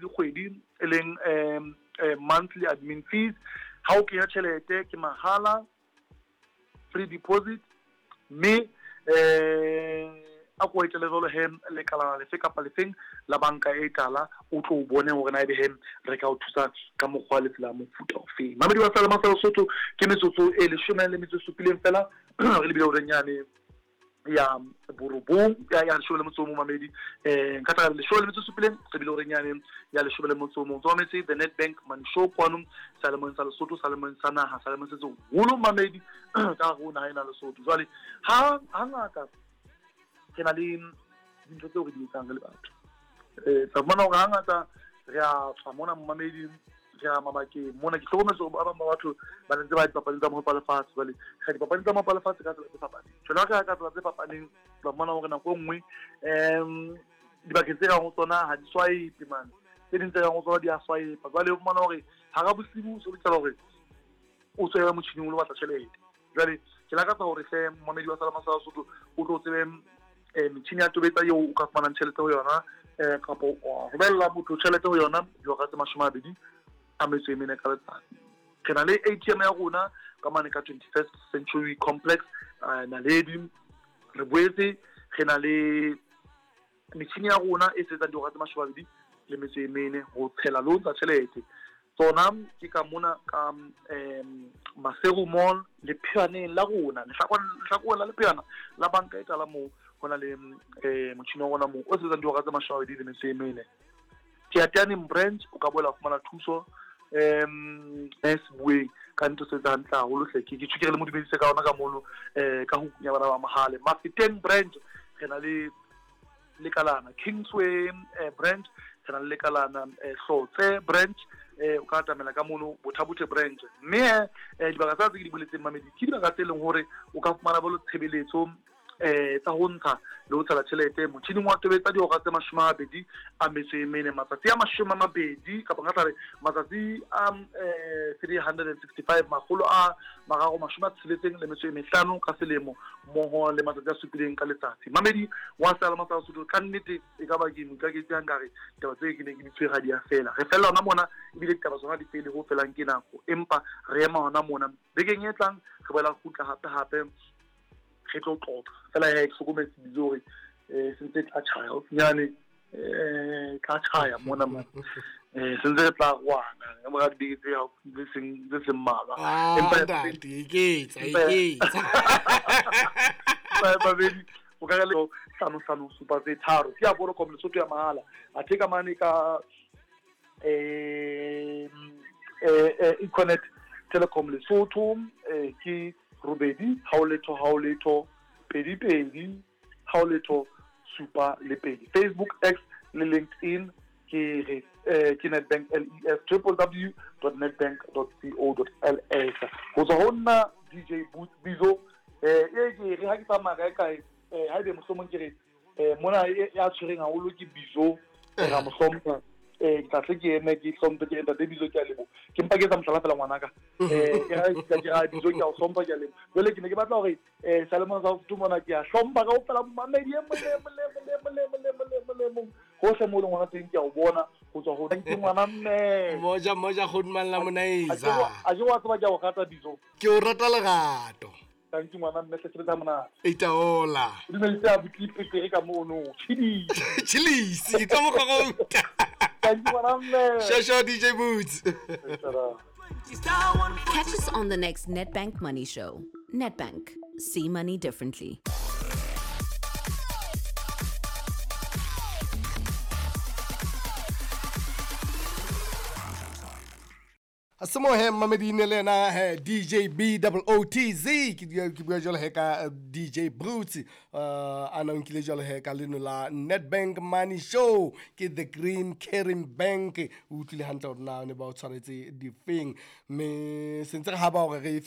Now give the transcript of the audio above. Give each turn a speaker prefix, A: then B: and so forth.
A: le kgwedi, e leng monthly admin fees. Ha o kenya tjhelete ke mahala, free deposit, mme a ko etele jwalo he lekalana lefe kapa lefeng la banka e tala, o tlo o bone hore na ebe he re ka o thusa ka mokgwa le tsela mofuta ofeng. Mamedi wa Seyalemoya sa Lesotho, ke metsotso e 17 fela re lebile horeng yane ya borobong ya 11, mamedi. Nka tla 17 re bile horeng yane ya 11. Tswa the Nedbank Money Show kwano Seyalemoyeng sa Lesotho, Seyalemoyeng sa naha, Seyalemoyeng se seholo, mamedi, ka hare ho naha ena Lesotho. Jwale ha hangata re na le dintho tseo re di etsang re le batho, tla fumana hore hangata re a tswa mona, mamedi, re ya mabakeng mona. Ke hlokometse hore ba bang ba batho ba ntse ba dipapading tsa mohope wa lefatshe. Jwale re dipapading tsa mohope wa lefatshe ka tsela tse fapaneng. Jwale ha re ya ka tsela tse fapaneng, tla fumana hore nako e nngwe dibakeng tse kang ho tsona ha di swipe mane, tse ding tse kang ho tsona di a swipe. Jwale o fumana hore hara bosiu o so lokela hore o tswele motjhining o lo batla tjhelete. Jwale ke lakatsa hore hle momamedi wa Seyalemoya sa Lesotho o tlo tsebe metjhini ya tobetsa eo o ka fumanang tjhelete ho yona, kapa wa romella motho tjhelete ho yona dihora tse 24 ka letsatsi. Re na le ATM ya rona ka mane ka 21st Century Complex, Naledi. Re boetse re na le metjhini ya rona e sebetsang dihora tse 24 ho tshela le ho ntsha tjhelete. Tsona ke ka mona ka Maseru Mall, lepheaneng la rona, lehlakoreng la lepheana la banka e tala moo ho na le motjhini wa rona moo o sebetsang dihora tse 24. Teateaneng branch o ka boela fumana thuso Sebueng ka ntho se hantle haholo hle. Ke tjhukere le mo dumedise ka ona ka mono, ka ho kunya bana ba Mohale. Mafeteng branch re na le lekalana, Kingsway branch re na le lekalana, Hlotse branch, o ka atamela ka mono Bothabothe branch. Mme dibaka tsa tse ke di boletseng, mamedi, ke dibaka tse leng hore o ka fumana bolo tshebeletso tsa ho ntsha le ho tshela tjhelete motjhining wa tobetsa dihora tse 24 matsatsi a 20, kapa nka tla re matsatsi a 365, 365 ka selemo, mmoho le matsatsi a 7 ka letsatsi. Mamedi wa Seyalemoya sa Lesotho, ka nnete e ka ba ke moikaketsi ha nkare taba tse ke ne ke di tshwere ha di a fela. Re fella hona mona, ebile ditaba tsona di fele ho felang ke nako, empa re ema hona mona. Bekeng e tlang re boela kgutla hape hape re tlo tlotla fela. He ke hlokometse bitso hore se ntse tla tjhaya haufinyane, tla tjhaya mona mane, se ntse re tla rwana ka mora dibeke tse tse seng mmalwa.
B: Empa ntate, iketsa iketsa.
A: Babedi o ka re le 5 5 7 tse 3 ke ya Vodacom Lesotho ya mahala. Athe ka mane ka Econet Telecom Lesotho, ke 8 0 0 0 2 2 0 0 7 le 2. Facebook, X le LinkedIn ke re ke Nedbank LES, www.nedbank.co.ls. Ho tswa ho nna DJ Boots Bizo, e ke re ha ke tsamaya kae kae, ha ebe mohlomong ke re mona ya tshwereng haholo ke Bizo, ra mo hlompha, ke tla tle ke eme ke hlomphe ke ntate Bizo, ke a leboha. Ke mpa ke etsa mohlala fela ngwanaka, ke ra Bizo, ke a o hlompha, ke a leboha. Jwale ke ne ke batla hore Seyalemoya sa Lesotho mona ke a hlompha kaofela momamedi e mong le mong le mong le mong le mong le mong le mong le mong hohle mo leng hona teng, ke a o bona ho tswa ho ke ngwana mme.
B: Moja moja Goodman la Monaiza.
A: A je wa tseba ke a o rata Bizo.
B: Ke o rata lerato.
A: Thank you ngwana mme, hle sebetsa monate.
B: Itaola.
A: O dumedise a butli petere ka mono. Chili.
B: Chilisi ka mokgwa.
A: Thank you ngwana mme.
B: Shasha DJ Boots.
C: Catch us on the next Nedbank Money Show. Nedbank. See money differently.
B: Semohe mamedine le ena he DJ B O O T Z, ke bua jwalo he ka DJ Broots, a na nkile jwalo he ka leno la Nedbank Money Show, ke The Green Caring Bank. O utlwile hantle hore na ne ba o tshwaretse difeng, mme sentse re haba hore re